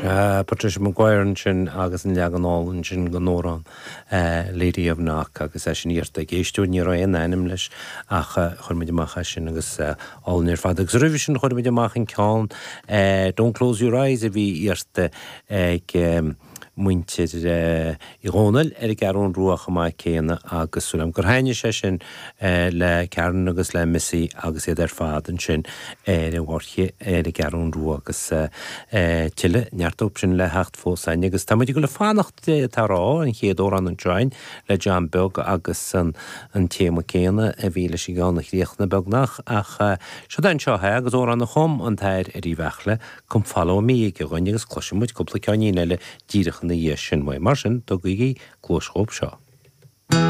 Sea, Patricia Maguire ansin agus an leagan álainn sin den amhrán Lady of Knock agus é sin iarrta ag éisteoir, ní raibh aon ainm leis ach chuir muid amach é sin agus álainn ar fad. Agus roimhe sin chuir muid amach an ceann Don't Close Your Eyes a bhí iarrta ag muintir Uí Dhónaill ar an gCeathrún Rua chomh maith céanna agus súil agam gur thaitnigh sé sin le Karen agus le Missy agus iad ar fad ansin ar an bhFáirche ar an gCeathrún Rua agus tuilleadh neart dóibh sin le theacht fós againn agus tá muid ag dul ag fanacht atá a rá an chéad amhrán anseo againn le John Beag agus an téama céanna a bhí leis an gceann a chríochnaigh beagnach ach seod é anseo é agus amhrán a chum an tAthair Eddie Bheartla Come Follow Me aige dhuinn agus cloisfidh muid cúpla ceainnín eile díreach ina dhiaidh sin uaidh. Mar sin, tugaigí cluais dhóibh seo.